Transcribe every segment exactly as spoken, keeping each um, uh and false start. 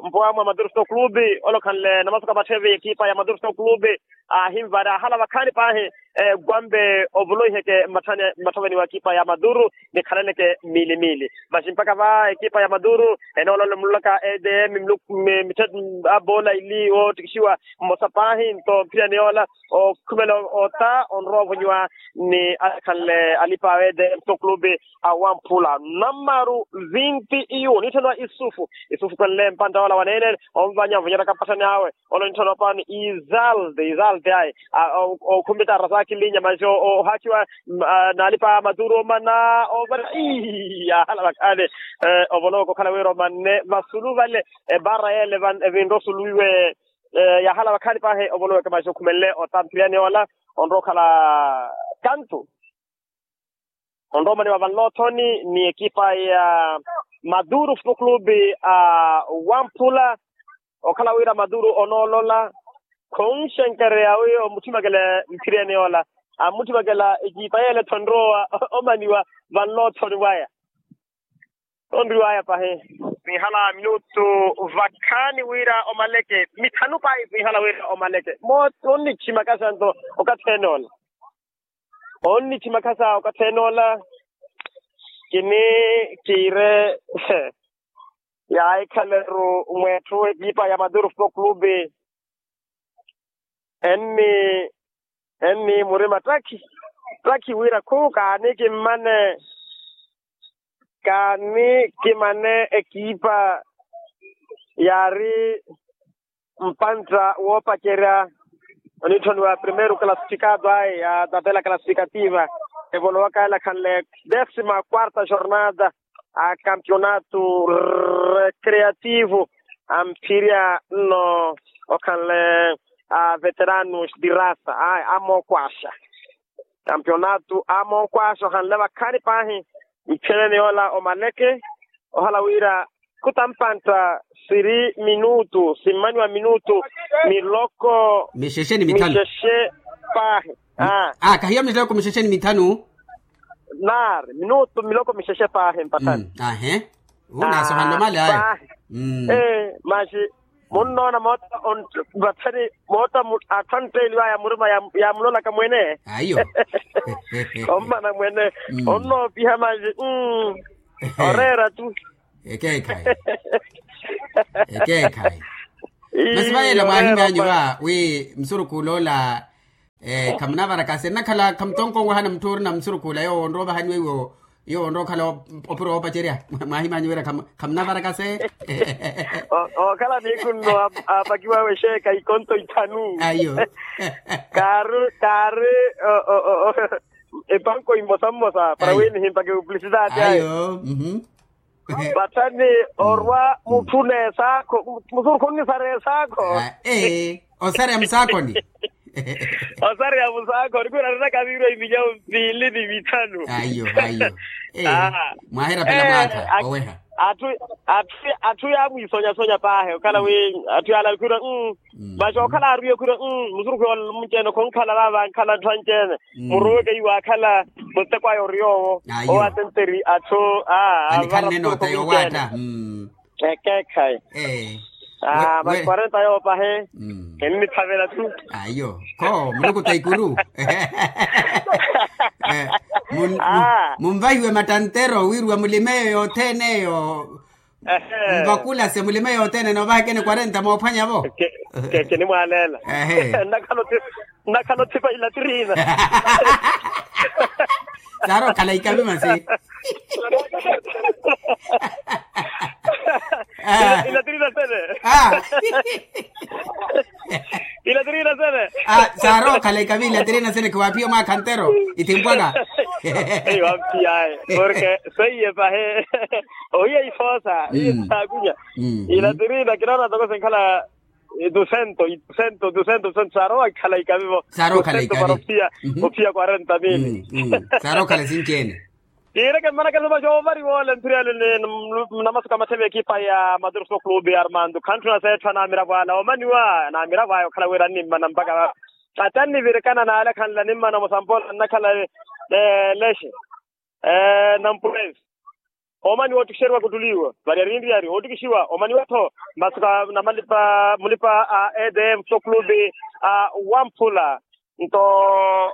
Maduru mpowamu a Maduru Football Clube, ole okhanle namasoka matthe evi ekipa ya Maduru Football Clube, ahinvara ahala vakhaani paahi. Kwampe ovuloiheke mmatthaveni wa ekipa ya Maduru, nikhalaneke miili miili. Masi mpakha va ekipa ya Maduru enoolola omulolaka edm. Abola ili oottikixiwa mmosa paahi nto mphiriyani yoola okhumela ota onrowa ovonyiwa ni akhanle alipa a edm Football Clube. Awamphula namaru vinti iyu onitthaniwa isufu isufu kwenle mpanta ola wanene. Onvanya ovonyeraka mpatthani awe. Ole onitthaniwa paani izalde izalde ayi. Okhumbita arasakilinya masi ohaakiwa naalipa a Maduru omana ovana. Ii yaahala vakhaani. Ovoloweke okhala wira omanne vasulu vale. Ebara yele evinre osuluwiwe yaahala vakhaani paahi ovoloweke masi okhumenle ota mphiriyani yoola onrowa okhala kantu. Onrowa omaniwa vanloothoni ni ekipa ya Maduru Football Clube. Awamphula okhala wira Maduru onoolola khonxenkereya wi omuthimakela mphiriyani yoola. Amuthimakela ekipa yeele-tho enrowa omaniwa vanloothoni waya. Onriwaya pahi. Sinhala minutu vakhaani wira omaleke mithanu pahi sinhala wira omaleke. Moota onnithimakhasa nto okathi enoola. Onnithimakhasa okathi enoola. Kini kiire yaahikhaleru mweetthu ekipa ya Maduru Football Clube. Enni enni murima ttakhi ttakhi wira khu kaani kimmane kaani kimane ekipa yaari mpantta woopacerya onitthoniwa primeiro classificado ayi ya tabela classificativa evolowaka ela khanle décima quarta jornada a campeonato recreativo amphirya nno okhanle a veteranos de raça ayi amookwaaxa. Campeonato amookwaaxa okhanle vakhaani paahi mphiyaneni yoola omaleke ohala wira khutampantta siri minutu simmaniwa minutu miloko mixexe ni mithanu mixexe paahi. Aa kahiya miloko mixexe ni mithanu. Naari minutu miloko mixexe paahi mpattani. Ahe. Unaasohanle omale aya. Masi munnoona moota vathani moota atthu antteeliwaya murima yaamulolaka mwene. Aiyo. Ommana mwene onnoopiha masi. Oreera tu. Ekeekhayi. Ekeekhayi. Masi vayela mwaahimanyiwa wi musurukhu oloola Khamunavarakase nnakhala khamutonkonwahana mutthu orina musurukhuula yoowo onrowa ovahaniwa iwo. Yoowo onrowa okhala opuro woopacerya. Mwahimanyu wira khamunavarakase. Okhala niikhunno apakiwa awe exeeka ikonto ithanu. Ayo. Kaari kaari epanko imosa mmosa para wi nihimpake publicidade ayo. Vathani orwa mutthu n'esaakho. Musurukhu onnisara esaakho. Ee, osarya musaakhoni. Osarya musaakhoni khwiira ariraka viirwa iminyawo mpiili ni mithanu. Ayo ayo. Ee, mwaahira pela mwaakha oweha. Atthu yaamwiisonyasonyapahe okhala wi atthu yaala khwiira. Masi okhala aariwe khwiira musurukhu yoola munci-ene khonkhala vaava ankhala atthu anci-ene. Muruweke iwaakhala muteko aya oriy'owo. Owo atenteri atthu. Anikhalene noota yoowaatta. Ekeekhayi. Masi kwarenta yoopahe. Enniphavela tu. Ayo kho mulukuta ikuru. Munvahiwe mattantero wiiriwa mulime eyo yothene eyo. Mvakulase mulime yothene noovahakene kwarenta moophwanya-vo. Kinimwaaleela. Nnakhala othipa ilatirina. Saari okhala ikavi masi. Ilatirina sene. Ilatirina sene. Saari okhala ikavi ilatirina sene khiwaaphiya omwaakha ntero. Ithimpwaka. Eyi wamphiyaye porke seiye pahe. Ohiya ifoosa iye saakunya. Ilatirina kinoona toko senkhala. Dusento dusento dusento saarowa ikhala ikavivo. Saarowa okhala ikavi. Ophiya kwarenta mili. Saarowa okhala sinci-ene. Tiireke mmanakelo maxa oovariwa ole mphiriyale ni namasuka matheve ekipa ya madurso clube armando khantthuna seetthwa namiravo ala omaniwa namiravo aya okhala wira annimmana mpaka. Ata annivirikana n'ale akhanle animmana musampola nnakhala lexe. Nampurezi. Omani wootikixeriwa kuttuliwa vari arinriyari ootikixiwa omani wettho. Masuka namalipa mulipa a edm so clube a wamphula. Nto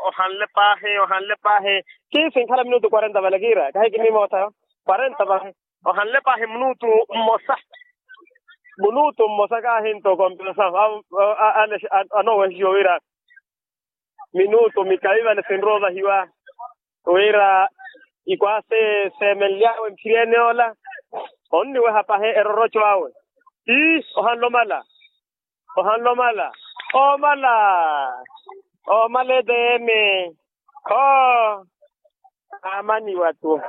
ohanle paahi ohanle paahi. Kiisi nkhala minutu kwarenta vale kiira kahi kinimoota. Kwarenta paahi ohanle paahi minutu mmosa. Minutu mmosa kaahi nto kompensaho. Anowehixiwa wira minutu mikavi vale sinrowa ovahiwa. Wira ikwaase seemenly'awe mphiryeene ola onniweha pahi eroroco awe. Ii ohanle omala. Ohanle omala. Omala. Omala etm. Kho aamaniwa tu.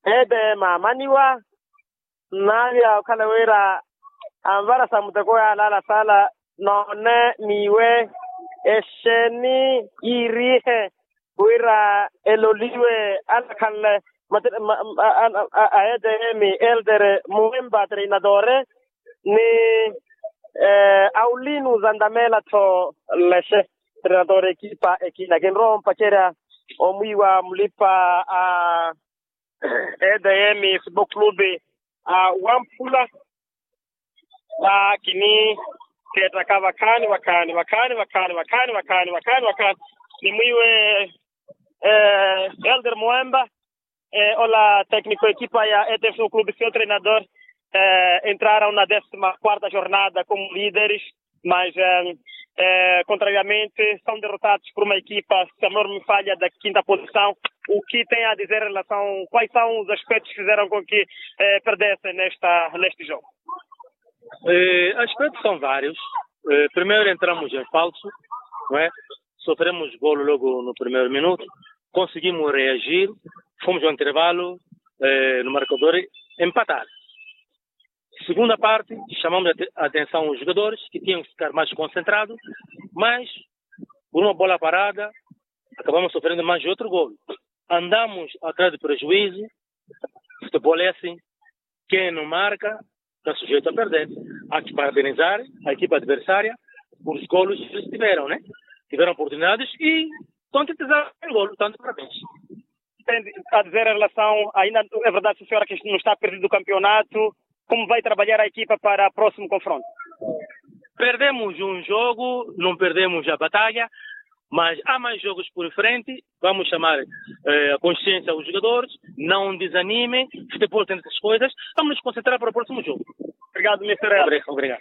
Etm aamaniwa. Nnavya okhala wira anvara sa muteko yaalaala saala noone n'iwe exeeni yiiriihe wira eloliwe alakhanle a etm elder muwemba treinadore ni aulinu zantamela-tho. Lexe treinadore ekipa ekina kinrowa ompacerya omwiiwa mulipa a edm football clube a wamphula. Kini keettaka vakhaani vakhaani vakhaani vakhaani vakhaani vakhaani vakhaani vakhaani ni mwiiwe elder muwemba ola tecnico ekipa ya etf football clube sio treinador. Entraram na décima quarta jornada como líderes. Mas contrariamente são derrotados por uma equipa se a memória não me falha da quinta posição, o que tem a dizer em relação quais são os aspectos que fizeram com que perdessem nesta neste jogo? Aspectos são vários. Primeiro entramos em falso, não é? Sofremos golo logo no primeiro minuto, conseguimos reagir, fomos ao intervalo no marcador empatar. Segunda parte, chamamos a atenção aos jogadores que tinham que ficar mais concentrados, mas por uma bola parada acabamos sofrendo mais outro golo. Andamos atrás de prejuízo. Futebol é assim, quem não marca está sujeito a perder. Há que parabenizar a equipa adversária por os golos que eles tiveram, né? Tiveram oportunidades e concretizaram o golo, tanto parabéns. Tem a dizer em relação, ainda é verdade, senhora, que não está perdido o campeonato, como vai trabalhar a equipa para o próximo confronto? Perdemos um jogo, não perdemos a batalha, mas há mais jogos por frente. Vamos chamar a consciência aos jogadores, não desanimem, futebol tem essas coisas, vamos nos concentrar para o próximo jogo. Obrigado, mister. Obrigado.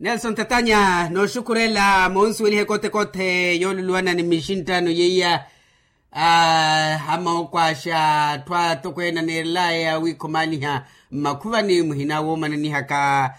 Nelson tatanya nooxukurela moonsuwelihe kote-kote yooluluwana ni mixinttano yeiya. Amookwaxa atthu atokweene aneerelaya wiikhomaaniha mmakhuvani muhina woomananihaka.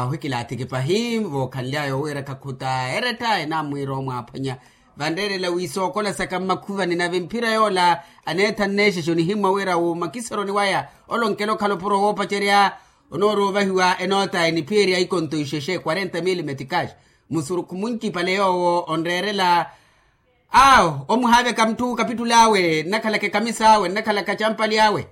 Ohikilaathiki pahi vookhanlyaya owiira khakhuta eretta enaamwiira omwaaphwanya. Vanreerela wi sookola saka mmakhuvani nave mphira yoola aneetha nneexexa onihimmwa wira wuumakiseroni waya. Olonkela okhala opuro woopacerya onoorovahiwa enoota eniphiyerya ikonto ixexe quarenta mil meticas. Musurukhu muncipale yoowo onreerela. Awo omuhaaveka mutthu kapittul'awe nnakhalaka ekamisa awe nnakhalaka campali awe.